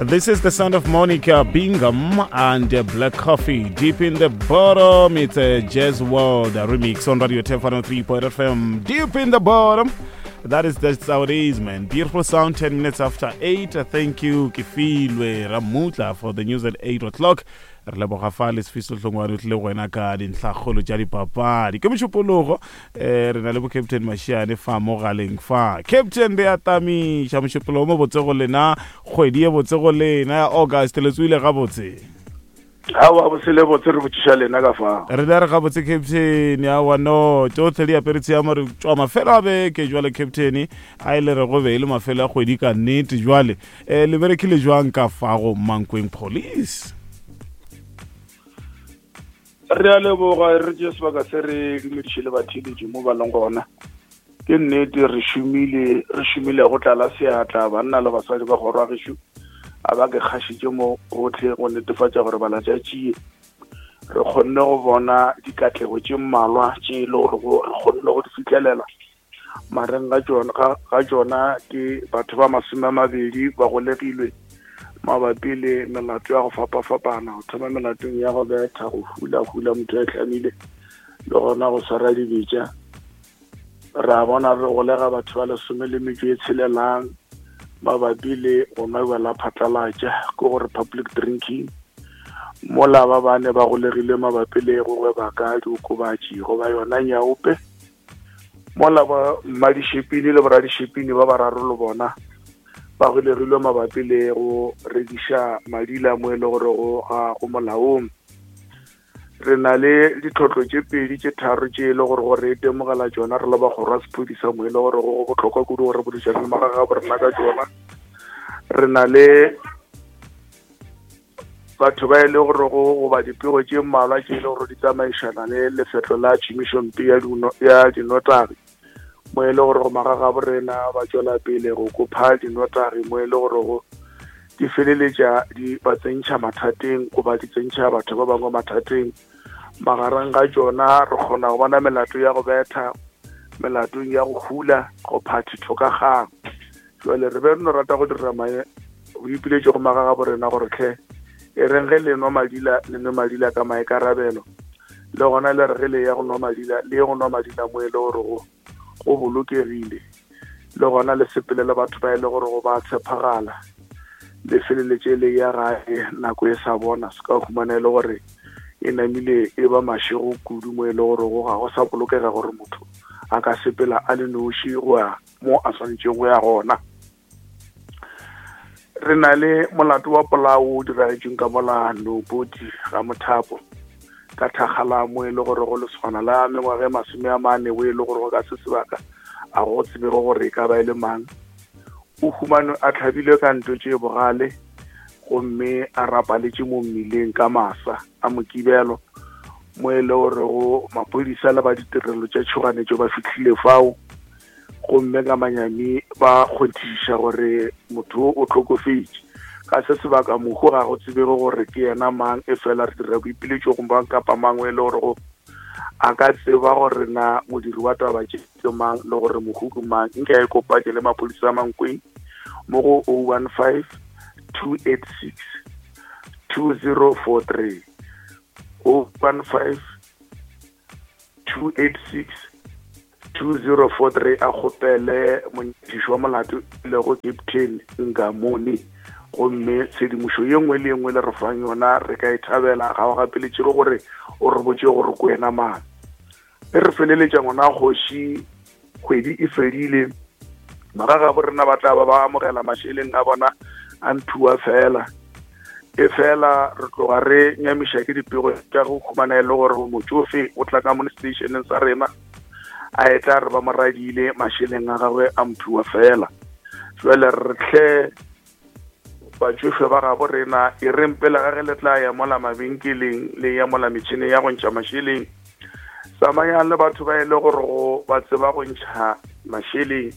This is the sound of Monica Bingham and Black Coffee. Deep in the bottom, it's a Jazz World remix on Radio 10 FM. Deep in the bottom. That is that's how it is, man. Beautiful sound, 10 minutes after 8. Thank you, Kefilwe Ramutla, for the news at 8 o'clock. Re leboga fa le sefiso hlongwane o tlile go wena ka dintlhakgolo tša dipapadi. Ke mošupologo, eh, re na le bo Captain Mashiane fa mo galeng fa. Captain re a tamiša mošupologo mo botse go lena, kgwedi ye botse go lena ya August le tsoile gabotse. Aowa bosele botse re botšiša lena ka fao. Re le re gabotse Captain, aowa no, tšohle di apere tshiamo re tšwa mafelo a beke jwale Captain, a e le re go be e le mafelo a kgwedi ka nnete jwale. Eh, le berekile jwang ka fago Mankweng Police? Re a leboga re tšee sebaka se re dumediše le batheeletši mo ba leng gona. Ke nnete re šomile, re šomile go tlala seatla banna le basadi ba kgoro ya gešo a ba ke kgašitše mo gohle go netefatša gore balatšatšie re kgonne go bona dikatlego tše mmalwa tše e le gore re kgonne go di fihlelela mareng ga tšona ga tšona ke batho ba 20 ba golegilwe mabapi le melato ya go fapafapana go thoma melatong ya go betha go hula hula motho a hlamile le gona go swara dibetša Ra bona re golega batho ba 16 mabapi le go nwa bjala phatlalatša, ke gore public drinking, mola ba bane ba golegile mabapi le go gweba ka diokobatši goba yona nyaope, mola ba mmadišepini le boradišepini ba bararo le bona ba golegilwe mabapi le go rekiša madila mo e le gore go ga go molaong. Re na le ditlhotlo tše pedi tše tharo tše e le gore gore re itemogela tšona re le ba kgoro ya sephodisa mo e le gore go bohlokwa kudu gore boledišane le magagabo rena ka tšona. Re na le batho ba e le gore go goba dipego tše mmalwa tše e le gore di tsamaišana le lefetlo la tšhomišompe ya dinotagi mo e le gore go magagabo rena ba tšwela pele go kopha dinotagi mo e le gore go di feleletša di ba tsentšha mathateng goba di tsentšha batho ba bangwe mathateng. Magareng ga tšona re kgona go bona melato ya go betha, melatong ya go hula, go phathitho ka kgang. Jwale re be re no rata go dira boipiletšo go magagabo rena gore hle e reng ge le nwa madila, le nwe madila ka maikarabelo, le gona le re ge le ya go nwa madila, le ye go nwa madila mo e le gore go bolokegile, le gona le sepele le batho ba e le gore go ba tshepagala, le feleletše le ya gae nako e sa bona, se ka humana e le gore e namile e ba mašego kudu mo e le gore go ga go sa bolokega gore motho a ka sepela a le noši go ya mo a swanetšego go ya gona. Re na le molato wa polao o diragetšeng ka mola Nobodi ga Mothapo ka thakgala mo e le gore go lesogana la mengwaga e 40 o e le gore go ka se sebaka a go tsebego gore e ka ba e le mang. O humanwe a tlhabilwe ka nto tše bogale gomme a rapaletše mo mmileng ka masa a Mokibelo mo e le gore go maphodisa le ba ditirelo tša tšhoganetšo ba fihlile fao gomme ka manyami ba kgonthišiša gore motho o hlokofetše. Ka se sebaka mohu ga go tsebege gore ke yena mang, e fela re dira boipiletšo go mang kapa mang e le gore go a ka tseba gore na modiri wa taba tše ke mang le gore mohu ke mang. Nke a ikopanye le maphodisa a Mankweng mo go 015 286 2043, 015 286 2043 a kgopele monyakiši wa molato e lego Captain Ngamoni, gomme tshedimošo ye nngwe le ye nngwe le re fang yona re ka e thabela. Ga o gapeletšege gore o re botše gore ke wena mang. E re feleletša ngwana kgoši, kgwedi e fedile, magagabo rena ba tla ba ba amogela mašeleng a bona a mphiwa fela. E fela re tloga re nyamiša ke dipego tša go khumana e le gore motšofe o tla ka mo stationeng sa rena a e tla re ba mo radile mašeleng a gagwe a mphiwa fela. Jwale re hle batšofe ba gabo rena e reng pele ga ge le tla ya mola mabenkeleng le ya mola metšhineng ya go ntšha mašeleng, tsamayang le batho ba e le gore go ba tseba go ntšha mašeleng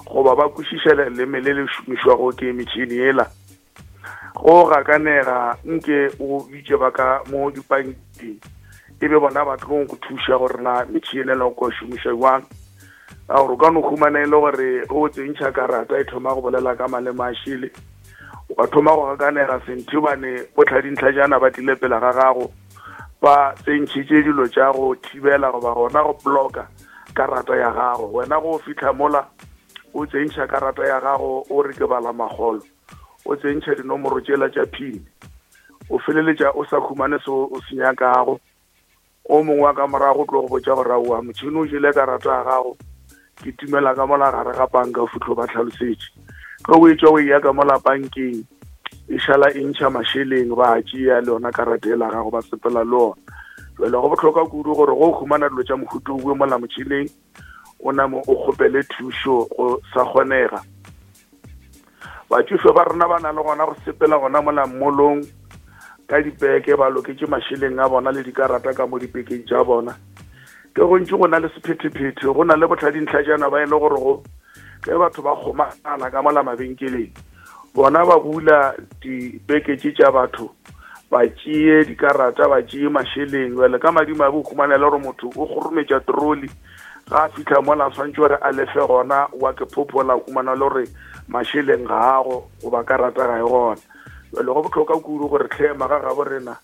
goba ba kwešiša leleme le le šomišwago ke metšhini yela. Go gakanega nke o bitše ba ka mo dipankeng e be bona ba tlong go thuša gore na metšhini ela o ka šomiša jwang, ka gore o ka no humana e le gore ge o tsentšha karata e thoma go bolela ka maleme a šele. Wa thoma go gakanega senthibane botlhadintlhajana ba tlile pele ga gago ba tsentšhitše dilo tša go thibela goba gona go bloka karata ya gago. Wena go fitlha mola o tsentšha karata ya gago o re ke bala magolo, o tsentšha dinomoro tšela tša pin, o feleletša o sa humane se o se nyakago. O mongwe wa ka morago o tlo go botša gore aowa motšhene o jele karata ya gago, ke timela ka mola gare ga panka o fitlho ba tlhalosetše. Ge o etšwa o eya ka mola pankeng e šala e ntšha mašeleng ba a tšea le yona karata ela gago ba sepela le ona. Jale go bohlokwa kudu gore go humana dilo tša mohuta owe mola motšhineng o name o kgopele thušo go sa kgonega. Batšofe ba rena ba na le gona go sepela gona mola mmolong ka dipeke ba loketše mašeleng a bona le dikarata ka mo dipekeng tša bona. Ke gontši go na le sephethephethe, go na le botlhadintlhajana ba e le gore go ge batho ba kgomana ka mola mabenkeleng bona ba bula dipeke tše tša batho ba tšee dikarata ba tšee mašeleng. Bjale ka madimabe o humana le gore motho o kgorometša troli ga a fitlha mola a swantše gore a lefe gona wa ke phophola humana le gore mašeleng ga ago goba karata ga e gona. Bjale go bohlokwa kudu gore tlhe maga gabo rena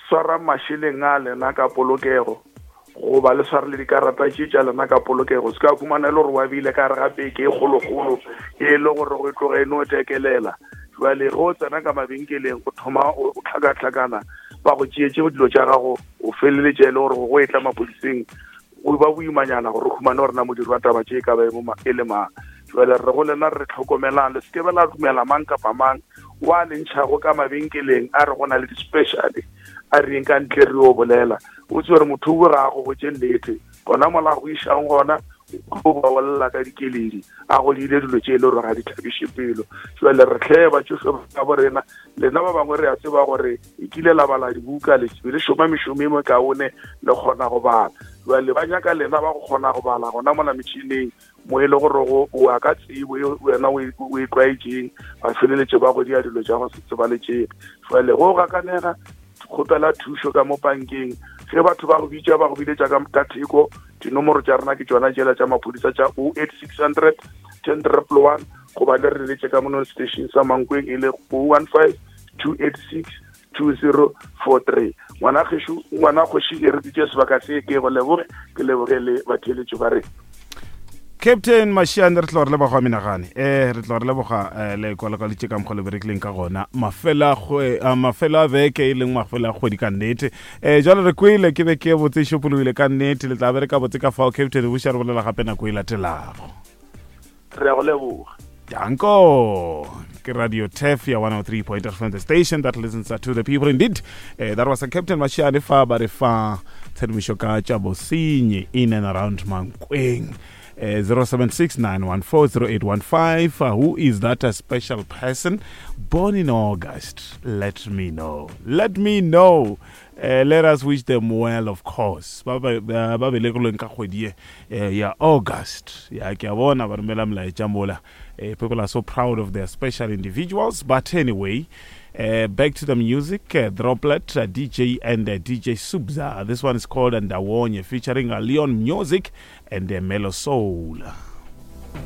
swarang mašeleng a lena ka polokego goba le sware le dikarata tše tša lena ka polokego. Se ka humana e le gore wa bile ka gare ga peke e kgolokgolo e le gore go e tloga e no tekelela. Jwale ge o tsena ka mabenkeleng o thoma o tlhakatlhakana ba go tšeetše dilo tša gago o feleletše e le gore go etla maphodiseng go ba boimanyana gore o humane gore na modiri wa taba tše e ka ba e le mang. Jwale re go lena re tlhokomelang, le se ke be la dumela mang kapa mang wa le ntšhago ka mabenkeleng a re go na le di-special a re yeng ka ntle re yo bolela. O tsebe gore motho o ga a go botše nnete gona mola go išang gona o ba bolela ka dikeledi a go diile dilo tše e le gore ga di thabiše pelo. Jwale re tlhe batšofe ba bo rena, lena ba bangwe re a tseba gore e kile la bala dibuka le be le šoma mešomo e mekaone le kgona go bala. Jwale ba nyaka lena ba go kgona go bala gona mola metšhineng mo e le gore go o ya ka tsebo e wena o e tlwaetšeng, ba feleletše ba go dia dilo tša go se tsebaletšege. Jwale go gakanega kgopela thušo ka mo pankeng ge batho ba go bitša ba go biletša ka theko. Dinomoro tša rena ke tšona tšela tša maphodisa tša 08600 10111 goba le re leletše ka mono station sa Mankweng e le 015 286 2043. Ngwana gešo, ngwana kgoši e re ditše sebaka se ke go leboge, ke leboge le batheeletši ba rena. Captain Mashiane re tlo re leboga menagane eh re tlo re leboga eh, le kwalakwalitše ka mokgwa le berekileng ka gona mafela a mafelo a beke e leng mafelo a kgwedi ka nnete eh jwale re kwele ke beke e botse e šopologile ka nnete le tla bereka botse ka fao Captain buša re bolela gape nako e latelago. Re a go leboga. Danko. Ke Radio Tef ya 103.8 FM, the station that listens to the people indeed. That was a Captain Mashiane fa ba re fa tshedimošo ka tša bosenyi in and around Mankweng. 0769140815. Who is that a special person born in August? Let me know. Let me know. Let us wish them well, of course. Ba ba ba belegilweng ka kgwedi ye ya August. Ya ke a bona ba romela molaetša mola. People are so proud of their special individuals. But anyway, back to the music. Droplet, DJ and DJ Subza. This one is called Ndawonye, featuring Leon Music and Melo Soul.